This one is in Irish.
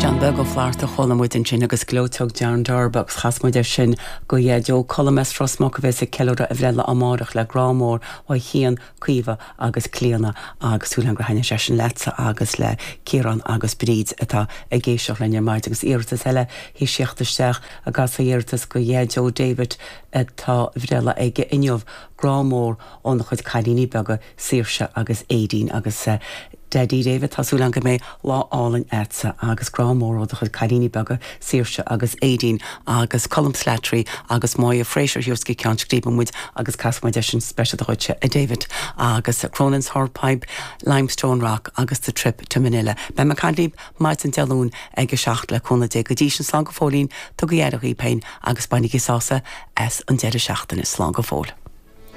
Seán Beag Ó Flatharta a chuala muid ansin agus Gleoiteog John Darb agus chas muid é sin go Dhaideo Colm as Ros Muc a bheas ag ceiliúradh a bhreithlá amáireach le grá mór ó Chian, Caoimhe agus Clíona agus súil agam gur thaitnigh sé sin leatsa agus le Ciarán agus Bríd atá ag éisteacht linn ar maidin agus iarratas eile théis theacht isteach ag casadh iarratas go Dhaideo David atá a bhreithlá aige inniu grá mór óna chuid cailíní beaga Saoirse agus Aedín agus Daidí David, tá súil agam go mbeidh lá álainn a'dsa agus grá mór ó do chuid cailíní beaga Saoirse agus Aedín agus Colm Slattery agus Moya Fraser thiar go Ceann Scríbe muid agus casfaidh muid é sin speisialta dhuitse a David agus Cronin's Hornpipe, Limestone Rock agus The Trip to Manila. Beidh mé ag caint libh maidin Dé Luain ag a 7 le cúnamh Dé. Go dtí sin slán go fóillín, tugaigí aire dhaoibh féin agus bainigí sásamh as an deireadh seachtaine. Slán go fóill.